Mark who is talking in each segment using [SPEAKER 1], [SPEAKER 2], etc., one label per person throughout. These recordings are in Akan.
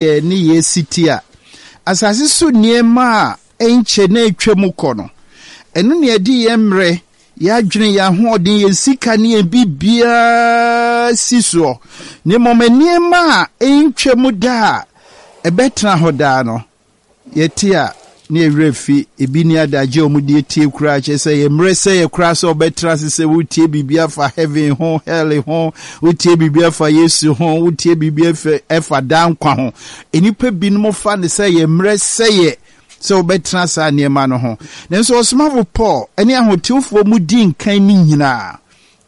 [SPEAKER 1] Yɛn nneyɛe si te a, asase so nneɛma a ɛnkyɛ na atwam kɔ no, ɛno na yɛde yɛn mmerɛ, yɛn adwene, yɛn ahoɔden, yɛn sika ne yɛn biribiara si soɔ. Na mmom nneɛma a ɛntwam da a ɛbɛtena hɔ daa no, Yɛte a, na yɛn werɛ fi. Ebi nni adagye a wɔde atie koraa, kyerɛ sɛ yɛn mmerɛ sɛ yɛ koraa sɛ wɔbɛtra ase sɛ wotie biribi afa heaven ho, hell ho, wotie biribi afa Yesu ho, wotie biribi afa ɛfa daa nkwa ho. Nnipa binom fa no sɛ yɛn mmerɛ sɛ yɛ sɛ wɔbɛtena saa nneɛma no ho. Nanso ɔsomafo Paul ne ahotefoɔ mu di nkan no nyinaa,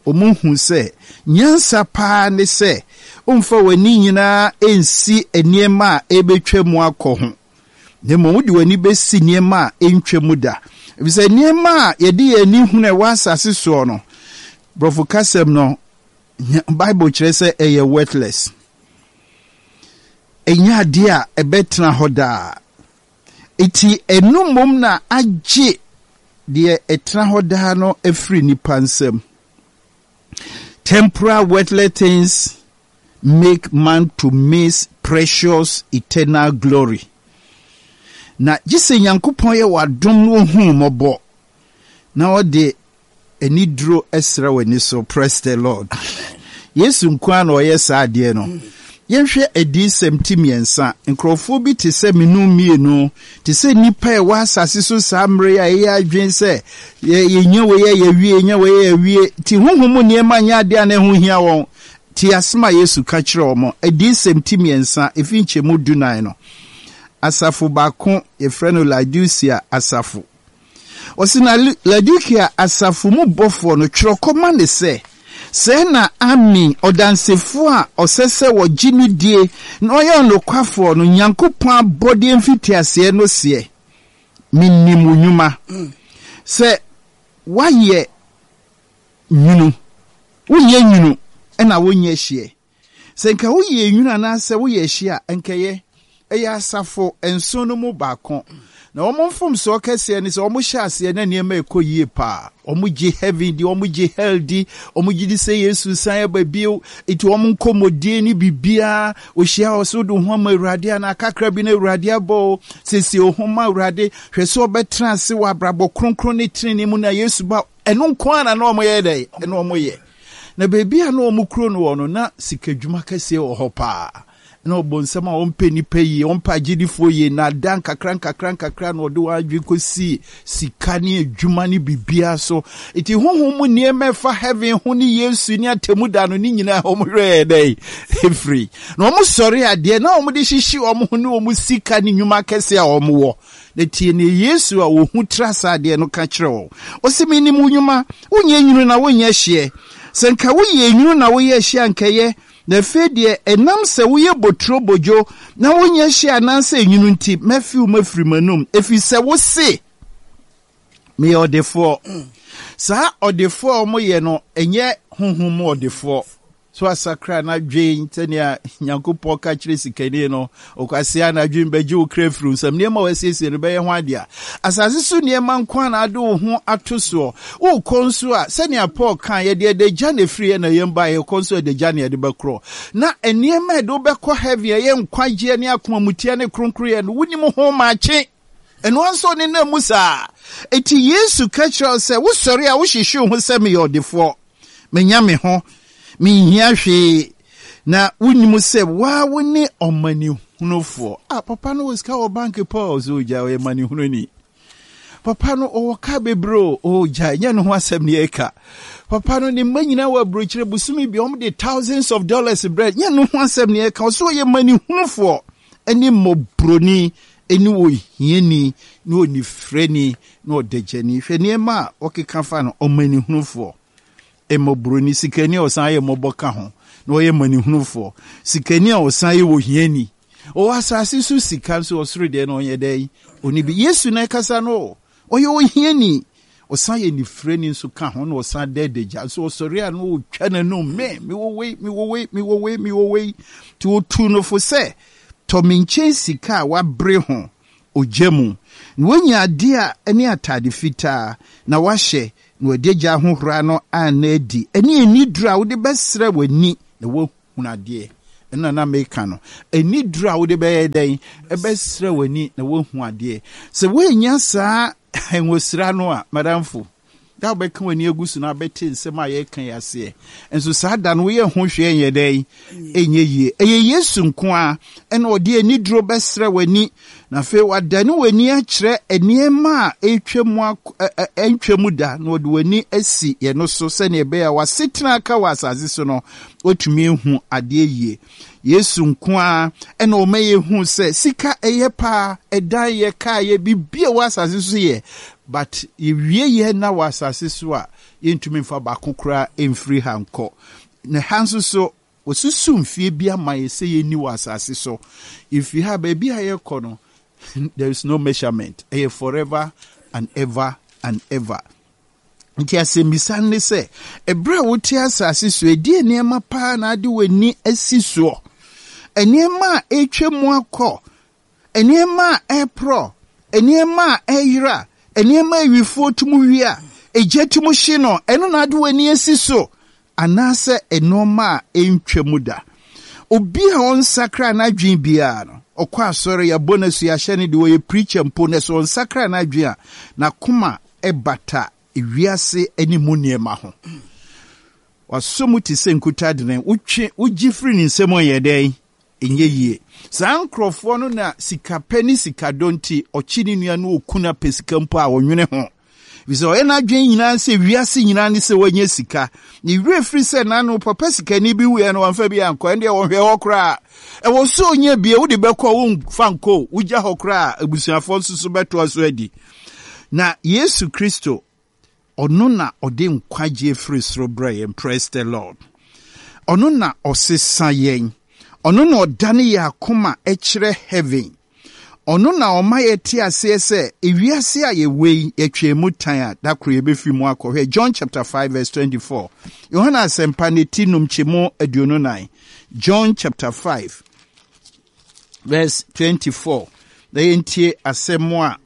[SPEAKER 1] wɔhu sɛ nyansa paa ne sɛ womfa w'ani nyinaa nsi nneɛma a ɛrebɛtwa mu akɔ ho, na mmom wode w'ani bɛsi nneɛma a ɛntwa mu da. Efisɛ nneɛma a yɛde yɛn ani hunu a ɛwɔ asase soɔ no, Borɔfo kasam no, Bible kyerɛ sɛ ɛyɛ worthless. Ɛnyɛ adeɛ a ɛbɛtena hɔ daa. Enti ɛno mmom na agye deɛ ɛtena hɔ daa no afiri nnipa nsam. Temporal worldly things make man to miss precious eternal glory. Na gye sɛ Nyankopɔn yɛ w'adom na ohu wo mmɔbɔ na ɔde Aniduro sra w'ani so praise the Lord. Yesu nko ara na ɔyɛ saa adeɛ no. Yɛnhwɛ Adiyisɛm ti mmiɛnsa. Nkurɔfoɔ bi te sɛ menu mmienu, te sɛ nnipa a ɛwɔ asase so saa mmerɛ yi a yɛyɛ adwene sɛ yɛnya wei a yɛawie, yɛnya wei a yɛawie. Nti honhom mu nneɛma nyɛ adeɛ a na ɛho hia wɔn. Tie asɛm a Yesu ka kyerɛɛ wɔn, Adiyisɛm ti mmiɛnsa, ɛfiri nkyɛmu dunan no. Asafo baako, yɛfrɛ no Laodicea asafo. Ɔse na Laodikea asafo mu bɔfoɔ no, twerɛ kɔma no sɛ, Sɛɛ na Amen, ɔdansefoɔ a ɔsɛ sɛ wɔgye no die na ɔyɛ ɔnokwafoɔ no, Nyankopɔn abɔdeɛ mfitiaseɛ no seɛ, Menim wo nnwuma, sɛ woayɛ nwunu, wonyɛ nwunu na wonyɛ hyeɛ. Sɛ nka woyɛ nwunu anaasɛ woyɛ hye a, anka ɛyɛ. Ɛyɛ asafo nson no mu baako. Na wɔn mfomsoɔ kɛseɛ ne sɛ wɔhyɛ aseɛ na nneɛma rekɔ yie paa. Wɔgye heaven di, wɔgye hell di, wɔgye di sɛ Yesu resan aba bio. Enti wɔn nkɔmmɔdie ne biribiara, wɔhyia wɔ sɛ wode wo ho ama Awurade anaa kakra bi na Awurade abɔ o. Siesie wo ho ma Awurade. Hwɛ sɛ wobɛtena ase wɔ abrabɔ kronkron ne tenenee mu na Yesu ba. Ɛno nko ara na na wɔyɛ dɛn? Ɛna wɔyɛ. Na baabi a na wɔn kuro no wɔ no, na sikadwuma kɛseɛ wɔ hɔ paa. Na ɔbonsam a ɔmpɛ nnipa yie, ɔmpɛ agyedifoɔ yie, nnaadaa nkakra nkakra nkakra na ɔde wɔn adwene kɔsii sika ne adwuma ne biribiara so. Nti honhom mu nneɛma ɛfa heaven ho ne Yesu ne atemmu da no ne nyinaa wɔn werɛ yɛ dɛn? Ɛfiri. Na wɔn sɔre adeɛ na wɔn de hyehye wɔn ho ne wɔn sika ne nnwuma akɛseɛ a wɔn wɔ. Na tie nea Yesu a ohu tra saa adeɛ no ka kyerɛ wɔn. Ɔse, Menim wo nnwuma, wonyɛ nwunu na wonyɛ hyeɛ. Sɛ nka woyɛ nwunu na woyɛ hyeɛ a anka ɛyɛ, na afei deɛ ɛnam sɛ woyɛ boturo bodwo na wonyɛ hyeɛ anaasɛ nwunu nti, mɛfe wo mafiri m'anom, ɛfiri sɛ wose, Meyɛ ɔdefoɔ. Saa ɔdefoɔ a wɔyɛ no, ɛnyɛ honhom mu ɔdefoɔ. So asakra n'adwen sɛnea Nyankopɔn ka kyerɛ sikani no? Ɔkwasea n'adwen bɛgye wo kra afiri wo nsam. Nneɛma a wasiesie no bɛyɛ ho ade a. Asase so nneɛma nko ara na ade wo ho ato soɔ. Worekɔ nso a, sɛnea Paul kae, yɛde adagya na ɛfiri yɛn na yɛn baeɛ, yɛkɔ nso adagya na yɛde bɛkorɔ. Na nneɛma a ɛde wo bɛkɔ heaven a ɛyɛ nkwagyeɛ ne akomamuteɛ ne kronkronyɛ no, wonim ho makye. Ɛno ara nso ɔnenam mu saa. Enti Yesu ka kyerɛ wo sɛ, wosɔre a wohyehye wo ho sɛ meyɛ ɔdefoɔ. Manya me ho, menhia hwee, na wonnim sɛ woa wo ne ɔmanehunufoɔ. Ah, papa no wɔ sika wɔ bank paa o, so ogya ɔyɛ manehununi. Papa no ɔwɔ kaa bebree o, ogya ɛnyɛ ne ho asɛm ne yɛka. Papa no ne mma nyinaa wɔ aburokyire bosome bi wɔn de thousands of dollars brɛ, nyɛ ne ho asɛm ne yɛka. Ɔso ɔyɛ manehunufoɔ ne mmɔborɔni ne ohiani ne onifirani ne ɔdagyani. Hwɛ nneɛma a wɔkeka fa no, ɔmanehunufoɔ, mmɔborɔni, sikani a ɔsan yɛ mmɔbɔ ka ho, na ɔyɛ manehunufoɔ, sikani a ɔsan yɛ ohiani. Ɔwɔ asase so sika nso ɔsoro deɛ na ɔnyɛ dɛn? Ɔni bi. Yesu na ɛkasa no o. Ɔyɛ ohiani. Ɔsan yɛ nifirani nso ka ho na ɔsan da adagya nso ɔsɔre a na ɔtwa n'anum me mewɔ wei mewɔ wei mewɔ wei mewɔ wei. Nti ɔtuu no fo sɛ tɔ me nkyɛn sika a wabere ho ogya mu, na woanya ade a ɛne atade fitaa, na woahyɛ, na w'adagya ahohora no anna adi, ɛne aniduru a wode bɛsra w'ani na woahunu adeɛ. Ɛna na meka no. Aniduro a wode bɛyɛ dɛn? Ɛbɛsra w'ani na woahu adeɛ. Sɛ woannya saa ngosra no a, madamfo, da a wobɛka w'ani agu so na abɛte nsɛm a yɛreka yi aseɛ. Nso saa da no woyɛ ho hwee nyɛ dɛn? Ɛnyɛ yie. Ɛyɛ Yesu nko ara ɛna ɔde aniduro bɛsrɛ w'ani na afei wadane w'ani akyerɛ nneɛma a ɛretwa mu ɛntwa mu da na ɔde w'ani asi yɛn no so sɛnea ɛbɛyɛ a w'asetena aka wɔ asase so no watumi ahu adeɛ yie. Yesu nko ara na ɔma yɛhu sɛ sika ɛyɛ paa, ɛdan yɛ, kaa yɛ, biribi a ɛwɔ asase so yɛ, but yɛwie yɛ na wɔ asase so a, yɛntumi mfa baako koraa mfiri ha nkɔ. Na ha nso so, wɔsusu mfie bi ama yɛ sɛ yɛnni wɔ asase so. Yɛfiri ha, baabi a yɛkɔ no, there is no measurement. Ɛyɛ forever and ever and ever. Nti asɛmmisa no ne sɛ, ɛberɛ a wote asase so, ɛdeɛ nneɛma paa na ade w'ani asi soɔ? Nneɛma a ɛretwa mu akɔ, nneɛma a ɛreporɔ, nneɛma a ɛreyera, nneɛma a awifoɔ tum wia, egya tum hye no, ɛno na ade w'ani asi so? Anaasɛ nneɛma a ɛntwa mu da? Obi a ɔnsakra n'adwene biara no, ɔkɔ asɔre, yɛabɔ no asu, yɛahyɛ no de, ɔyɛ preacher mpo, na sɛ ɔnsakra n'adwene a, n'akoma bata wiase ne mu nneɛma ho. Wasɔ mu te sɛ nkutadene, wotwe, wogye firi ne nsam a ɛyɛ dɛn? Ɛnyɛ yie. Saa nkurɔfoɔ no na sikapɛ ne sikadɔ nti, ɔkye ne nua no ɔku no apɛ sika mpo a ɔnwene ho. Ɛfiri sɛ ɔyɛ n'adwene nyinaa sɛ wiase nyinaa ne sɛ wanya sika. Ne werɛ firi sɛ n'ano papa sikani bi wuiɛ no wamfa bi ankɔ, ɛndeɛ wɔnhwɛ hɔ koraa. Ɛwɔ sɛ ɔnya bie, wode bɛkɔ womfa nkɔ, wogya hɔ koraa abusuafoɔ nso so bɛtoa so adi. Na Yesu Kristo, ɔno na ɔde nkwagyeɛ firi soro brɛ yɛn. Praise the Lord. Ɔno na ɔsesa yɛn. Ɔno na ɔdane yɛn akoma kyerɛ heaven. Ɔno na ɔma yɛte aseɛ sɛ ewiase a yɛwɔ yi, yɛtwɛn mu tan a, da koro yɛbɛfiri mu akɔ. Hwɛ John chapter 5 verse 24. Yohane Asɛmpa ne ti num kyɛmu 24. John chapter 5 verse 24. Na yɛntie asɛm a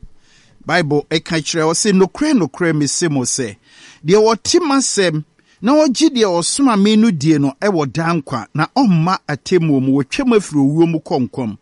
[SPEAKER 1] Bible ɛka kyerɛ ɔse, nokorɛ nokorɛ mese mo sɛ, deɛ ɔte m'asɛm na ɔgye deɛ ɔsoma me no die no wɔ daa nkwa, na ɔmma atemmuo mu, wɔtwam afiri owuo mu kɔ nkwa mu.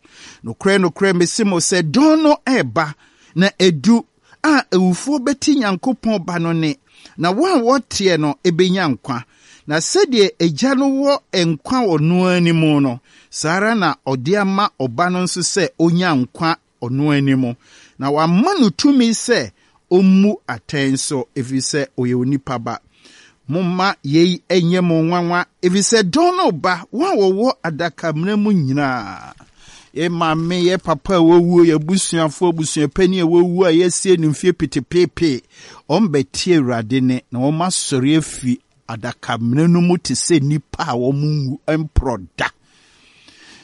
[SPEAKER 1] Nokorɛ nokorɛ mese mo sɛ, dɔn no reba, na adu, a awufoɔ bɛte Nyankopɔn Ba no nne, na wɔn a wɔteɛ no bɛnya nkwa. Na sɛdeɛ Agya no wɔ nkwa wɔ ɔno ara ne mu no, saa ara na ɔde ama Ɔba no nso sɛ ɔnya nkwa ɔno ara ne mu, na wama no tumi sɛ ɔmmu atɛn nso, ɛfiri sɛ ɔyɛ onipa Ba. Momma yei nyɛ mo nwanwa, ɛfiri sɛ dɔn no reba, wɔn a wɔwɔ adakamena mu nyinaa, yɛn maame, yɛn papa a wɔawuo, yɛn abusuafoɔ, abusuapanin a wɔawuo a yɛasie no mfie petepeepee, wɔbɛte Awurade nne, na wɔasɔre afiri adakamena no mu te sɛ nnipa a wɔn nwu mporɔ da.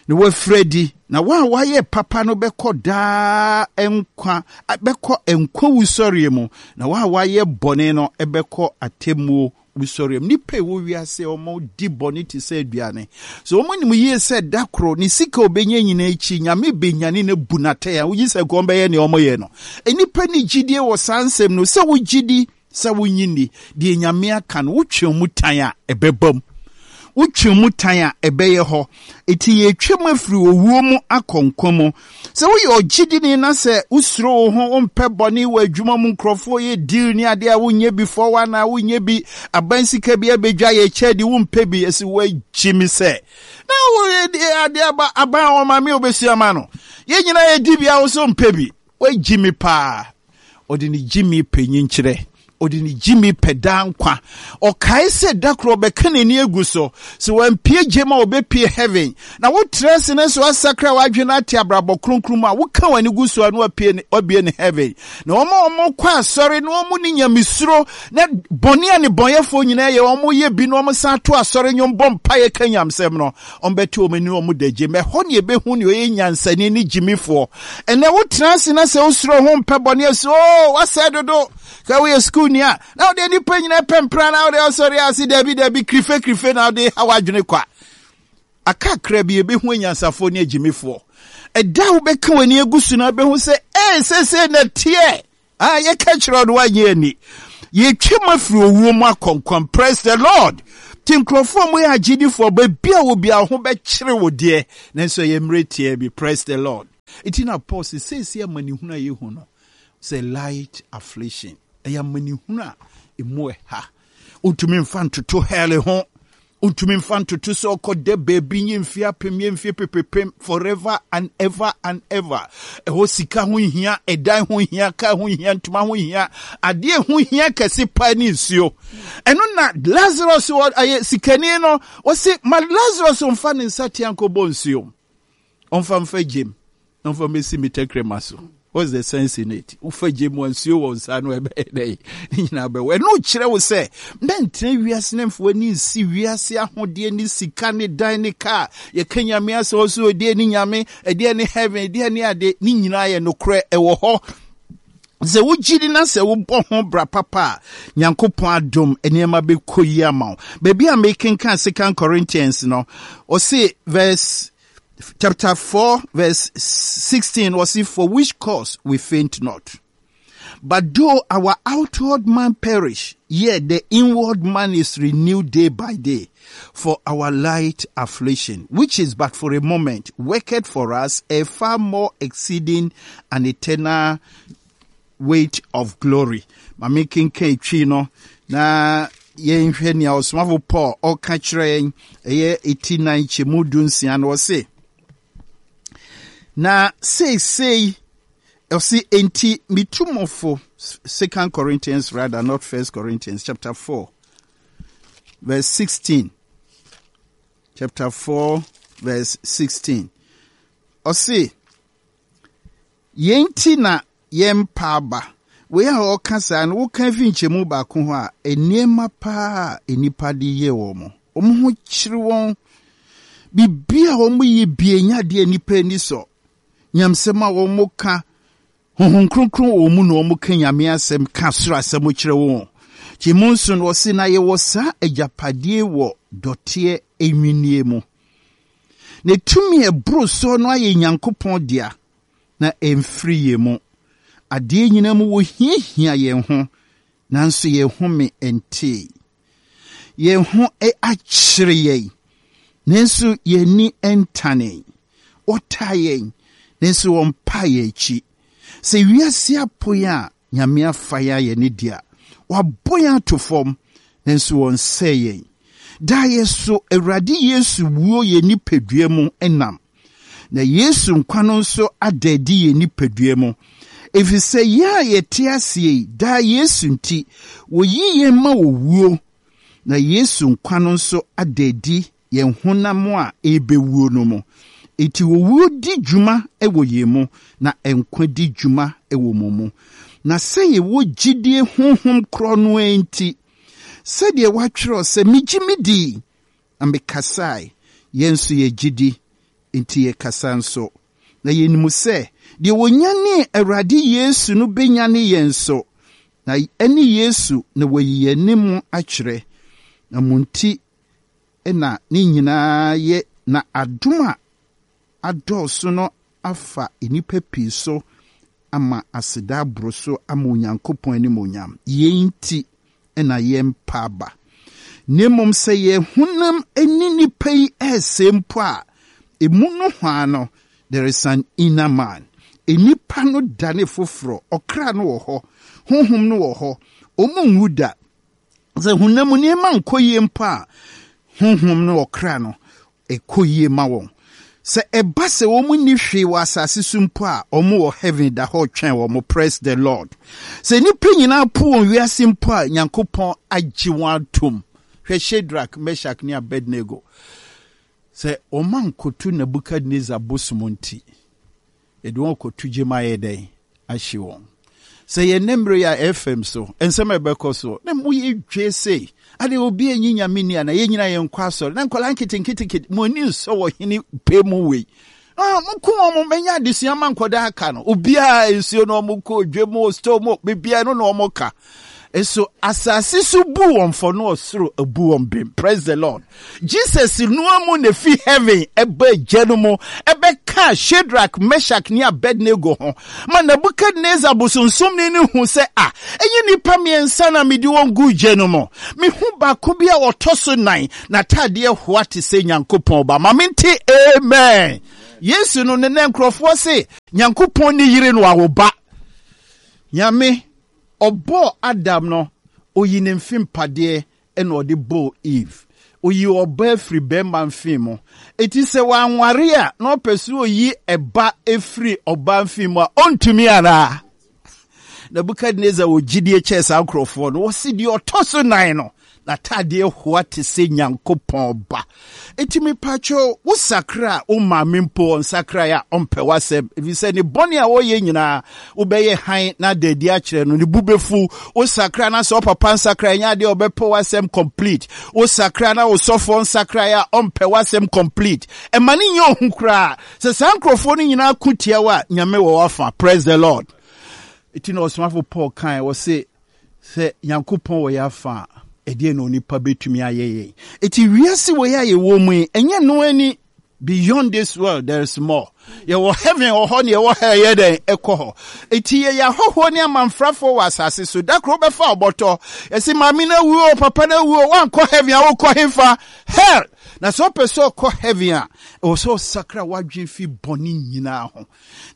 [SPEAKER 1] Na wɔafiri adi, na wɔn a wɔayɛ papa no bɛkɔ daa nkwa, bɛkɔ nkwa wusɔreɛ mu, na wɔn a wɔayɛ bɔne no bɛkɔ atemmuo wusɔreɛ mu. Nnipa a ɛwɔ wiase a wɔdi bɔne te sɛ aduane. So wɔn nim yie sɛ da koro ne sika a ɔbɛnya nyinaa akyi, Nyame bɛnyane no abu no atɛn a, wogye sɛ nka wɔbɛyɛ nea wɔyɛ no. Nnipa nni gyidie wɔ saa nsɛm no, sɛ wogye di Sɛ wonnye nni, deɛ Nyame aka no, wotwe mu tan a, ɛbɛba mu. Wotwe mu tan a, ɛbɛyɛ hɔ. Enti yɛretwa mu afiri owuo mu akɔ nkwa mu. Sɛ woyɛ ɔgyedini na sɛ wosuro wo ho, wompɛ bɔne wɔ adwuma mu, nkurɔfoɔ yɛ deal ne adeɛ a wonyɛ bi fɔwa anaa wonyɛ bi, aban sika bi abɛdwa yɛ kyɛ de wompɛ bi, ɛsɛ woagye me sɛ na wo adeɛ aba aban a wɔma me wobɛsua ma no. Yɛn nyinaa yɛdi bi a wo so mpɛ bi. Woagye me paa. Ɔde ne gyimi pɛ nyinkyerɛ. Ɔde ne gyimi pɛ daa nkwa. Ɔkae sɛ da koro ɔbɛka n'ani agu so. Sɛ wampue gyem a ɔbɛpue heaven. Na wotra ase na sɛ woasakra w'adwene na ate abrabɔ kronkron mu a, woka w'ani gu so a na wapue ne, wabue ne heaven. Na wɔn a wɔkɔ asɔre na wɔn ne nyamesuro na bɔne a nnebɔneyɛfoɔ nyinaa yɛ, wɔyɛ bi na wɔsan to asɔre nnwom bɔ mpaeɛ ka nyamsɛm no, Wɔbɛte wɔn ani na wɔn da gyem. Ɛhɔ na yɛbɛhu nea ɔyɛ nyansani ne gyimifoɔ. Ɛnnɛ wotena ase na sɛ wosuro ho mpɛ bɔne a, sɛ oo wasɛe dodo. Sɛ woyɛ sukuuni a, na wode nnipa nyinaa pɛ mpra na wode ɔsɔre ase dabi dabi kirife kirife na wode ha w'adwene kwa. Akakra bi yɛbɛhu anyansafoɔ ne agyimifoɔ. Ɛda a wobɛka w'ani agu so na wobɛhu sɛ ee seesei na teɛ. Ah, yɛka kyerɛ no wanyɛ ani. Yɛtwam afiri owuo mu akɔ nkwa mu. Praise the Lord. Nti nkurɔfoɔ a wɔyɛ agyidifoɔ, baabi a wɔ biara ho bɛkyere wo deɛ, nanso ɛyɛ mmerɛ tiaa bi. Praise the Lord. Nti na Paul se seesei amanehunu a yɛhu no sɛ light affliction, ɛyɛ amanehunu a ɛmu ɛha. Wontumi mfa ntoto hell ho. Wontumi mfa ntoto sɛ ɔkɔda baabi nye mfe apem nye mfe pepepem forever and ever and ever. Ɛhɔ sika ho nhia, ɛdan ho nhia, kaa ho nhia, ntoma ho nhia. Adeɛ ho hia kɛse paa ne nsuo. Ɛno na Lazarus wɔ ɛyɛ sikani no, ɔse ma Lazarus mfa ne nsa tea nkɔbɔ nsuo. Ɔmfa mfa gyem na ɔmfa mmɛsi me tɛkrɛma so. What's the sense in it? Wofa gye mu a nsuo wɔ nsa no ɛbɛyɛ dɛ ne nyinaa bɛwɔ. Ɛno kyerɛ wo sɛ mɛntena wiase na mfa w'ani nsi wiase ahodeɛ ne sika ne dan ne kaa. Yɛka Nyame asɛm ɔso ɛdeɛ ne Nyame, ɛdeɛ ne heaven, ɛdeɛ ne ade, ne nyinaa yɛ nokorɛ ɛwɔ hɔ. Sɛ wogye di na sɛ wobɔ ho bra papa a, Nyankopɔn adom nneɛma bɛkɔ yi ama wo. Baabi a mekenkan Second Corinthians no, ɔse verse chapter 4 verse 16 ɔse for which cause we faint not. But though our outward man perish, yet the inward man is renewed day by day. For our light affliction, which is but for a moment, worketh for us a far more exceeding and eternal weight of glory. Ma menkenkan twi no na yɛnhwɛ nea ɔsomafo Paul ɔka kyerɛ yɛn ɛyɛ eti nan kyɛmu du nsia no ɔse na seesei ɔse enti metu mo fo Second Corinthians rather not First Corinthians chapter 4 verse 16 chapter 4 verse 16 ɔse Yei nti na yɛmpa aba. Wei a ɔreka saa no, woka fi nkyɛmu baako hɔ a, nneɛma paa a nnipa de yɛ wɔn. Wɔn ho kyere wɔn. Biribi a wɔyɛ bi ɛnyɛ adeɛ a nnipa ani sɔ. Nyamsɛm a wɔka, Honhom Kronkron wɔ wɔn mu na wɔka Nyame asɛm, ka soro asɛm kyerɛ wɔn. Nti mu nso no, ɔse na yɛwɔ saa agyapadeɛ wɔ dɔteɛ nnwinneɛ mu. Na tumi a ɛboro soɔ no ayɛ Nyankopɔn dea, na ɛmfiri yɛn mu. Adeɛ nyinaa mu wɔhiahia yɛn ho, nanso yɛn home ntee. Yɛn ho akyere yɛn, nanso yɛn ani ntanee. Wɔtaa yɛn, nanso wɔmpaa yɛn akyi. Sɛ wiase apo yɛn a, Nyame afa yɛn ayɛ ne dea. Wabɔ yɛn ato fam, nanso ɔnsɛe yɛn. Daa yɛso Awurade Yesu wuo yɛn nipadua mu nam, na Yesu nkwa no nso ada adi yɛn nipadua mu. Efisɛ yɛn a yɛte aseɛ yi, daa Yesu nti, wɔyi yɛn ma owuo, na Yesu nkwa no nso ada adi yɛn honam a ɛrebɛwuo no mu. Enti owuo di dwuma wɔ yɛn mu, na nkwa di dwuma wɔ mo mu. Na sɛ yɛwɔ gyidie honhom korɔ no ara nti, sɛdeɛ wɔatwerɛ sɛ, Megye medii, na mekasae, yɛn nso yɛgye di, enti yɛkasa nso. Na yɛnim sɛ deɛ ɔnyanee Awurade Yesu no bɛnyane yɛn nso, na ɛne Yesu na wayi yɛn ne mo akyerɛ. Na mo nti na ne nyinaa yɛ na adom a adɔɔso no afa nnipa pii so ama aseda aboro so ama Onyankopɔn animuonyam. Yei nti na yɛmpa aba. Na mmom sɛ yɛn honam ani nipa yi resɛe mpo a, emu nohoa no, there is an inner man. Nnipa no dane foforɔ, ɔkra no wɔ hɔ, honhom no wɔ hɔ, wɔn nwu da. Sɛ honam mu nneɛma nkɔ yie mpo a, honhom ne ɔkra no, ɛkɔ yie ma wɔn. Sɛ ɛba sɛ wɔn nni hwee wɔ asase so mpo a, wɔn wɔ heaven da hɔ retwɛn wɔn. Praise the Lord. Sɛ nnipa nyinaa po wɔn wiase mpo a, Nyankopɔn agye wɔn atom. Hwɛ Shadrach, Meshach ne Abednego. Sɛ wɔn ankoto Nebuchadnezzar bosom nti, Yɛde wɔn kɔto gya mu ayɛ dɛn? Ahye wɔn. Sɛ yɛn nnɛ mmerɛ yi a ɛfam so, nsɛm a ɛbɛkɔ so, na mo yɛ dwe sei. Ade obi anyi nyame ni ana yɛn nyinaa yɛn nkɔ asɔre. Na nkwadaa nketenkete mo ani nsɔ wɔ hene pɛ mu wei. Ah, mo ko wɔn mɛnya adesua ma nkwadaa aka no. Obiara nsuo na wɔn kɔ dwe mu, store mu, biribiara no na wɔn ka. Nso asase so bu wɔn fɔ na ɔsoro abu wɔn bem. Praise the Lord. Jesus noa mu na efi heaven ɛba agya no mu ɛbɛka Shadrach, Meshach ne Abednego ho ma Nebuchadnezzar bosonsomni no hu sɛ a ɛnyɛ nnipa mmiɛnsa na mede wɔn gu gya no mu. Mehu baako bi a ɔtɔ so nan, n'ataadeɛ hoa te sɛ Nyankopɔn ba. Ma mente amen. Yesu no ne nɛ nkurɔfoɔ se Nyankopɔn ne yere no awo ba. Nyame ɔbɔɔ Adam no, oyi ne mfe mpadeɛ ɛna ɔde bɔɔ Eve. Oyi ɔbaa firi bɛrima mfe mu. Eti sɛ wanware a na ɔpɛ sɛ oyi ɛba efiri ɔbaa mfe mu a, ɔntumi anaa? Nebukadnezar wɔ gyidie kyɛɛ saa nkurɔfoɔ no. Wɔsi deɛ ɔtɔ so nan no, n'ataadeɛ hoa te sɛ Nyankopɔn ba. Enti mepakyɛw, wo sakra a, wo maame mpo ɔnsakrae a, ɔmpɛ w'asɛm, efisɛ ne bɔne a ɔyɛ nyinaa, wobɛyɛ hann na ada adi akyerɛ no, ne bo befuw. Wo sakra na sɛ ɔpapa nsakrae nyɛ adeɛ a ɔbɛpɛ w'asɛm complete. Wo sakra na wo sɔfoɔ nsakrae a, ɔmpɛ w'asɛm complete. Ɛma no nyɛ ohu koraa. Sɛ saa nkurɔfoɔ no nyinaa ko tia wo a, Nyame wɔ w'afa. Praise the Lord. Eti na ɔsomafo Paul kae, ɔse, Sɛ Nyankopɔn wɔ yɛn afa a, ɛdeɛn na onipa bɛtumi ayɛ yɛn? Eti wiase wei a yɛwɔ mu yi, ɛnyɛ no ani. Beyond this world, there is more. Yɛwɔ heaven wɔ hɔ ne yɛwɔ hell yɛ dɛn ɛkɔ hɔ. Eti yɛyɛ ahɔhoɔ ne amanfrafoɔ wɔ asase so. Da koro wobɛfa ɔbɔtɔ. Yɛse maame no awu o, papa no awu o, woankɔ heaven a wokɔ hefa? Hell! Na sɛ wopɛ sɛ ɔkɔ heaven a, ɛwɔ sɛ ɔsakra w'adwene fi bɔne nyinaa ho.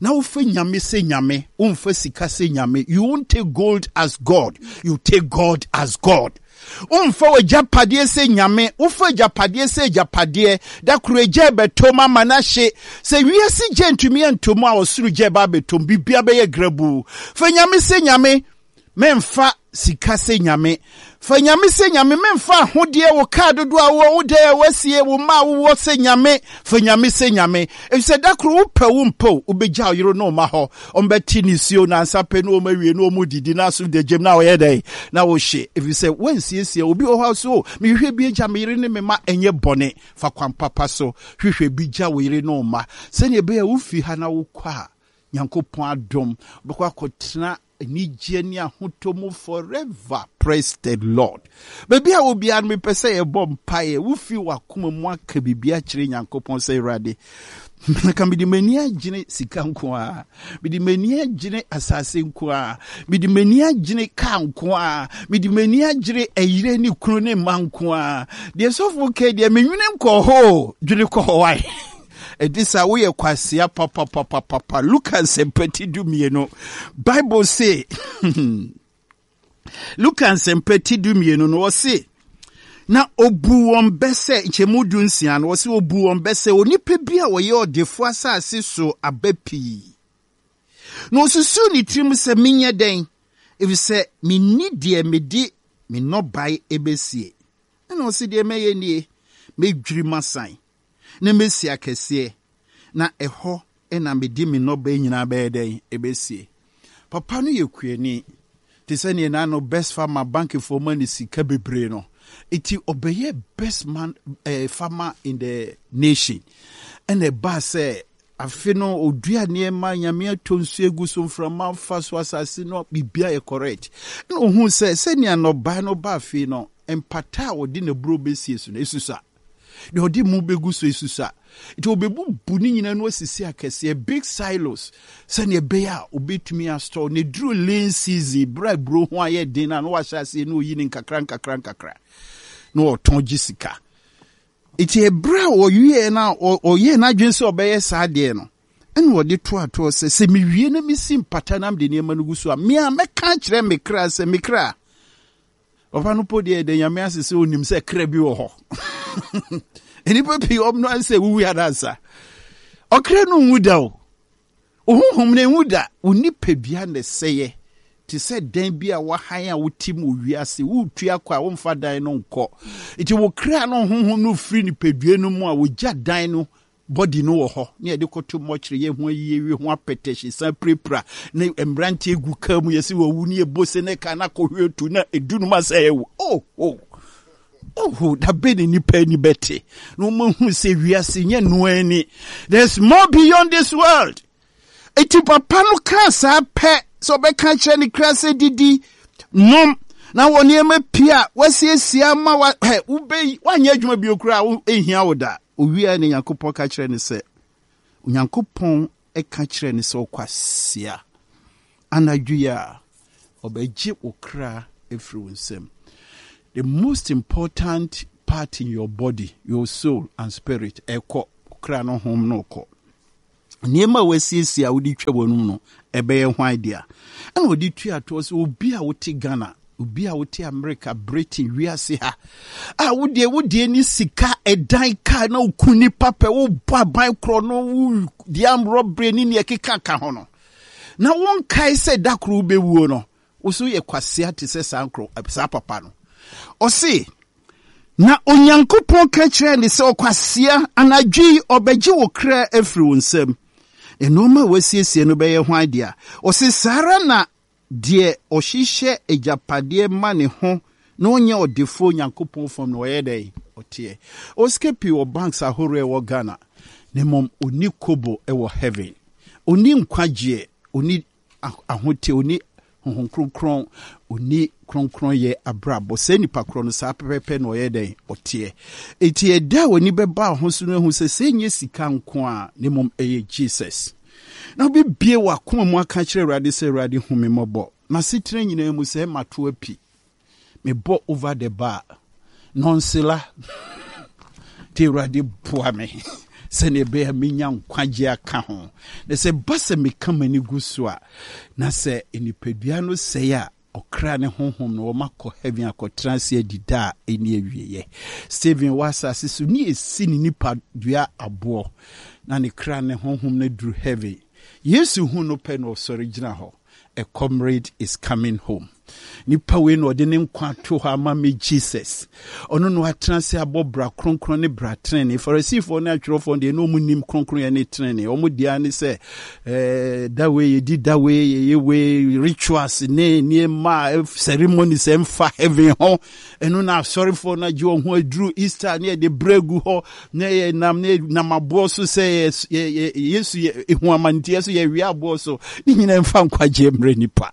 [SPEAKER 1] Na wofa Nyame sɛ Nyame, womfa sika sɛ Nyame. You won't take gold as God, you take God as God. Womfa w'agyapadeɛ sɛ Nyame, wofa agyapadeɛ sɛ agyapadeɛ. Da koro agya ɛbɛtɔ mu ama no ahye. Sɛ wiase gya ntumi antɔ mu a, ɔsoro gya ɛba abɛtɔ mu, biribiara bɛyɛ grabuu. Fa Nyame sɛ Nyame. Memfa sika sɛ nyame. Fa nyame sɛ nyame. Memfa ahodeɛ, wo kaa dodoɔ a wowɔ, wo dan a woasie, wo mma a wowɔ sɛ nyame. Fa nyame sɛ nyame. Efisɛ da koro wopɛ wo mpɛ o, wobɛgya wo yere ne wo mma hɔ. Wɔbɛte nisuo nansa pɛ ne wɔn awie ne wɔn redidi na aso da gyam na wɔyɛ dɛn? Na wohye. Efisɛ woansiesie. Obi wɔ hɔ a ɔse o, mehwehwɛ bi agya me yere ne me mma. Ɛnyɛ bɔne. Fa kwan papa so hwehwɛ bi gya wo yere ne wo mma. Sɛdeɛ ɛbɛyɛ a wofi ha na wokɔ a, Nyankopɔn adom, wobɛkɔ akɔtena anigyeɛ ne ahotɔ mu forever. Praise the Lord. Baabi a wɔ biara no, mepɛ sɛ yɛbɔ mpaeɛ. Wofi w'akoma mu aka biribi akyerɛ Nyankopɔn sɛ, Awurade, nka mede m'ani agyene sika nko ara, mede m'ani agyene asase nko ara, mede m'ani agyene kaa nko ara, mede m'ani agyene ɛyere ne kunu ne mma nko ara. Deɛ sɔfo kɛ deɛ menwene nkɔ hɔ dwene kɔ hɔ wae. Ɛde saa woyɛ kwasea papapapapa. Luka nsɛmpa ti 12. Bible se Luka nsɛmpa ti 12 no ɔse na obu wɔn bɛ sɛ nkyɛmu 16 no ɔse obu wɔn bɛ sɛ onipa bi a ɔyɛ ɔdefo asase so aba pii. Na osusuw ne tirim sɛ menyɛ dɛn efisɛ minni deɛ mede me nnɔbae ebesie. Ɛna ɔse deɛ mɛyɛ nie, mɛdwiri m'asan na mɛsi akɛseɛ, na ɛhɔ na mede me nnɔbae nyinaa bɛyɛ dɛn? Ɛbɛsie. Papa no yɛ kuani, te sɛ neɛ n'ano best farmer bankifoɔ ma no sika bebree no. Nti ɔbɛyɛ best man eh, farmer in the nation. Ɛna ɛbaa sɛ afe no ɔdua nneɛma, Nyame atɔ nsuo agu so, mframa afa so, asase no biribiara yɛ correct. Ɛna ɔhuu sɛ sɛnea nnɔbae no ba afe no, mpata a ɔde n'aburo bɛsie so no, ɛsusua. Deɛ ɔde mu bɛgu so esusua. Nti ɔbɛbubu ne nyinaa no asisi akɛseɛ, big silos, sɛdeɛ ɛbɛyɛ a ɔbɛtumi astɔɔ. Na ɛduru lean season, berɛ a aburo ho ayɛ den no a, na wahyɛ aseɛ na ɔyi ne nkakra nkakra nkakra na ɔtɔn gye sika. Nti ɛberɛ a ɔwieɛ no a ɔyɛɛ n'adwene sɛ ɔbɛyɛ saa adeɛ no, ɛna ɔde toatoɔ sɛ, sɛ mewie na mesi mpata na mede nneɛma no gu so a, me a mɛka akyerɛ me kra sɛ, me kra, Papa no po deɛ ɛda Nyame ase sɛ onim sɛ kra bi wɔ hɔ. Nnipa pii wɔn no sɛ wuwu adansa. Ɔkra no nwu da o. Ohonhom no nwu da. Wo nipadua na ɛsɛeɛ te sɛ dan bi a wahan a wote mu wɔ wiase. Woretu akɔ a womfa dan no nkɔ. Nti wo kra no honhom no firi nipadua no mu a wogya dan no Body no wɔ hɔ ne yɛde kɔto mɔkyere yɛ ho ayie wie ho apɛtɛhye san pirapira ne mmeranteɛ gu kaa mu yɛsi wɔwu ne yɛbɔ se ne kaa na akɔhwe tu na edu no ma sɛ ɛwu oh oh oh dabe ne nipa ani bɛte na wɔn ahu sɛ wiase nyɛ noa ani. There's more beyond this world. Enti papa no kaa saa pɛ sɛ ɔbɛka akyerɛ ne kra sɛ didi, nom. Na wɔ nneɛma pii a wasiesie ama wa hɛ wobɛyi woanyɛ adwuma bio koraa a ɛnhia wo da. Owiae na Nyankopɔn ka kyerɛɛ no sɛ, Onyankopɔn ka kyerɛɛ no sɛ, Ɔkwasea, anadwo yi a ɔbɛgye wo kra afiri wo nsam. The most important part in your body, your soul and spirit, ɛkɔ, kra no hom no kɔ. Nneɛma a wɔasiesie a wode twa w'anum no, ɛbɛyɛ hwan dea? Ɛna ɔde tua toɔ sɛ obi a wote Ghana, obi a wote America, Britain, wiase ha, a wodeɛ wodeɛ ne sika, ɛdan, kaa na woku nipa pɛ, wobɔ aban korɔ no, wodi amrɔbere ne nea ɛkeka ka ho no, na wonkae sɛ da koro wobɛwuo no, wo so yɛ kwasea te sɛ saa nkorɔ saa papa no. Ɔse, Na Onyankopɔn ka kyerɛɛ no sɛ, Ɔkwasea, anadwo yi ɔbɛgye wo kra afiri wo nsam. Nnoɔma a woasiesie no bɛyɛ hwan dea? Ɔse, Saa ara na deɛ ɔhyehyɛ agyapadeɛ ma ne ho na ɔnyɛ ɔdefoɔ Onyankopɔn fam no, ɔyɛ dɛn? Ɔteɛ. Ɔwɔ sika pii wɔ banks ahoroɔ a ɛwɔ Ghana, na mmom ɔnni kobo wɔ heaven. Ɔnni nkwagyeɛ, ɔnni ahotew, onni Honhom Kronkron, onni kronkronyɛ abrabɔ. Saa nipa korɔ no, saa pɛpɛpɛ na ɔyɛ dɛn? Ɔteɛ. Enti ɛda a w'ani bɛba wo ho so no ahu sɛ, sɛ ɛnyɛ sika nko a, na mmom ɛyɛ Jesus. Na wobɛbie w'akoma mu aka akyerɛ Awurade sɛ, Awurade hu me mmɔbɔ. M'asetena nyinaa mu sɛ mato api. Mebɔ over the bar. Nɔnsela. Nti Awurade boa me sɛnea ɛbɛyɛ a menya nkwagye aka ho. Na sɛ ɛba sɛ meka m'ani gu so a, na sɛ nipadua no sɛe a, ɔkra ne honhom no wɔakɔ heaven akɔtena ase adi da a ɛnni awieɛ. Stephen wɔ asase so ne ɛsi ne nipadua aboɔ na ne kra ne honhom no aduru heaven. Yesu hu no pɛ na ɔsɔre gyina hɔ. A comrade is coming home. Nipa wei na ɔde ne nkwa ato hɔ ama me Jesus. Ɔno na watena ase abɔ bra kronkron ne bra trenee. Farisifoɔ ne atwerɛfoɔ deɛ na wɔn nim kronkron ne trenee. Wɔn deɛ ne sɛ ɛɛ da wei yɛdi da wei yɛyɛ wei rituals ne nneɛma ceremonies ɛmfa heaven ho. Ɛno na asɔrefoɔ no agye wɔn ho aduru Easter ne yɛde brɛ gu hɔ na yɛ nam ne nam aboɔ so sɛ yɛ yɛ Yesu yɛ ehu amanteɛ so yɛwia aboɔ so ne nyinaa mfa nkwagyeɛ mmerɛ nipa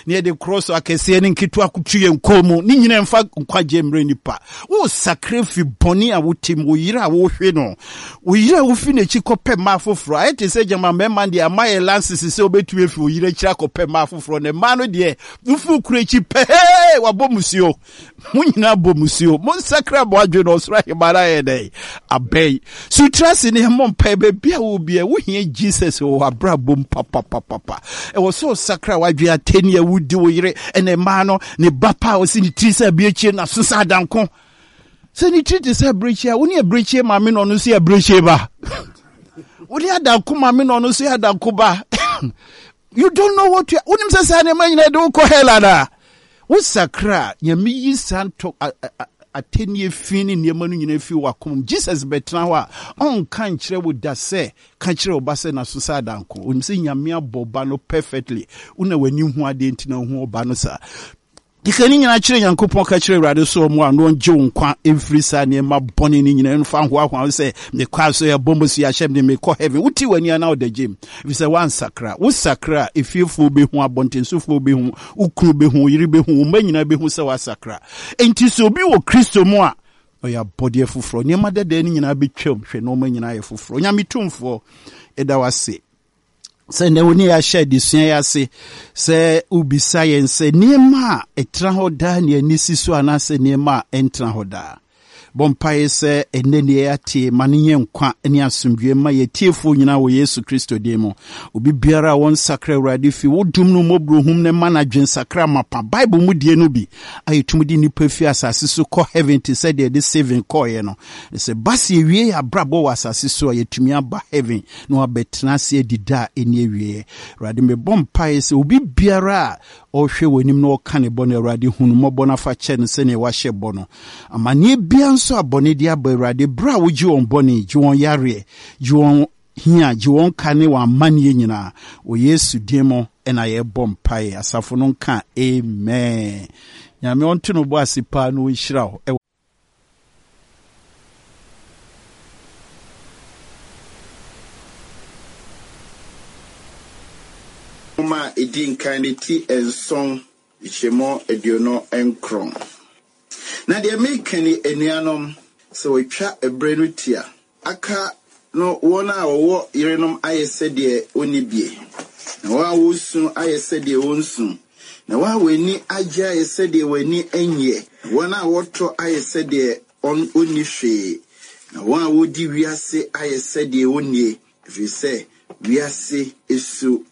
[SPEAKER 1] ne yɛde korɔ so akɛseɛ ne nketewa kutu yɛn kɔn mu ne nyinaa mfa nkwagyeɛ mmerɛ nipa wo sakra fi bɔne a wote mu wo yere a wohwe no wo yere a wofi n'akyi kɔpɛ mmaa foforɔ ayɛ te sɛ gyama mmarima deɛ ama yɛ lances sɛ wobɛtumi afi wo yere akyiri akɔpɛ mmaa foforɔ na mmaa no deɛ wofi wo kuro akyi pɛɛ wabɔ musuo Mo nyinaa bɔ musuo. Monsakra mo adwene na ɔsoro ahemman no ayɛ dɛn? Abɛn. So tiri ase ne mmɔ mpae baabi a wɔ biara. Wohia Jesus wɔ w'abrabɔ mu papapapapa. Ɛwɔ sɛ ɔsakra w'adwene atɛni a wodi wo yere ɛna mmaa no ne ba pa a ɔsi ne tiri sɛ abirekyie na so sɛ adanko. Sɛ ne tiri te sɛ abirekyie a wo ne abirekyie maame na ɔno nso yɛ abirekyie ba. Wo ne adanko maame na ɔno nso yɛ adanko ba. You don't know what you wonim sɛ saa nneɛma nyinaa de wokɔ hell anaa? Wosakra a, Nyame yi saa ntɔ atɛnnie fi ne nneɛma no nyinaa fi w'akoma mu. Jesus bɛtena hɔ a, ɔnka nkyerɛ wo da sɛ, ka kyerɛ wo ba sɛ n'aso sɛ adanko. Onim sɛ Nyame abɔ ɔba no perfectly. Wo na w'ani hu adeɛ nti na wohu ɔba no saa. Keka ne nyinaa kyerɛ Nyankopɔn, ka kyerɛ Awurade sɛ ɔmmoa no ɔngye wo nkwa mfiri saa nneɛma bɔne no nyinaa mfa nhoahoa wo sɛ mekɔ asɔre abɔ mo so yɛahyɛ me de mekɔ heaven. Wote w'ani a na ɔda gyam ɛfiri sɛ woansakra. Wosakra a, efiefoɔ bɛhu, abɔntensofoɔ bɛhu, wo kunu bɛhu, wo yere bɛhu, wo mma nyinaa bɛhu sɛ woasakra. Enti sɛ obi wɔ Kristo mu a, ɔyɛ abɔdeɛ foforɔ. Nneɛma dadaa no nyinaa bɛtwam, hwɛ nneɛma nyinaa yɛ foforɔ. Onyame Tumfoɔ, yɛda wo ase. Sɛ nnɛ wo ne yɛn ahyɛ adesua yi ase sɛ wobisa yɛn sɛ nneɛma a ɛtena hɔ daa ne ani si so anaasɛ nneɛma a ɛntena hɔ daa. Bɔ mpaeɛ sɛ ɛnnɛ nea yɛate ma no nyɛ nkwa ne asomdwoeɛ mma yɛn atiefoɔ nyinaa wɔ Yesu Kristo din mu. Obi biara a wɔnsakra Awurade fi wo dom no mmɔborɔhum no ma no adwensakra mapa. Bible mu deɛ no bi a yɛtumi de nnipa fi asase so kɔ heaven te sɛ deɛ yɛde Stephen kɔeɛ no. Sɛ ba sɛ yɛwie yɛn abrabɔ wɔ asase so a yɛtumi aba heaven na wabɛtena ase adi da a ɛnni awieɛ. Awurade, mebɔ mpaeɛ sɛ obi biara a ɔrehwɛ w'anim na ɔreka ne bɔne, Awurade, hu no mmɔbɔ na fa kyɛ no sɛdeɛ woahyɛ bɔ no. Amanneɛ biara nso a bɔne de aba, Awurade, berɛ a wogye wɔn bɔne, gye wɔn yareɛ, gye wɔn hia, gye wɔn ka ne wɔn amanneɛ nyinaa. Wɔ Yesu din mu na yɛbɔ mpaeɛ. Asafo no nka amen. Nyame ɔnto no bo ase paa na ɔnhyira wo.
[SPEAKER 2] Nwoma a edi nkan no ti nson.
[SPEAKER 1] Nkyɛmu 29. Na deɛ mereka ni, anuanom, sɛ wɔatwa ɛberɛ no tia, aka no wɔn a wɔwɔ yerenom ayɛ sɛdeɛ wɔnni bie, na wɔn a wɔresu ayɛ sɛdeɛ wɔnsu, na wɔn a wɔn ani agye ayɛ sɛdeɛ wɔn ani nnyeɛ, na wɔn a wɔtɔ ayɛ sɛdeɛ wɔnni hwee, na wɔn a wɔdi wiase ayɛ sɛdeɛ wɔnnie, ɛfiri sɛ wiase su.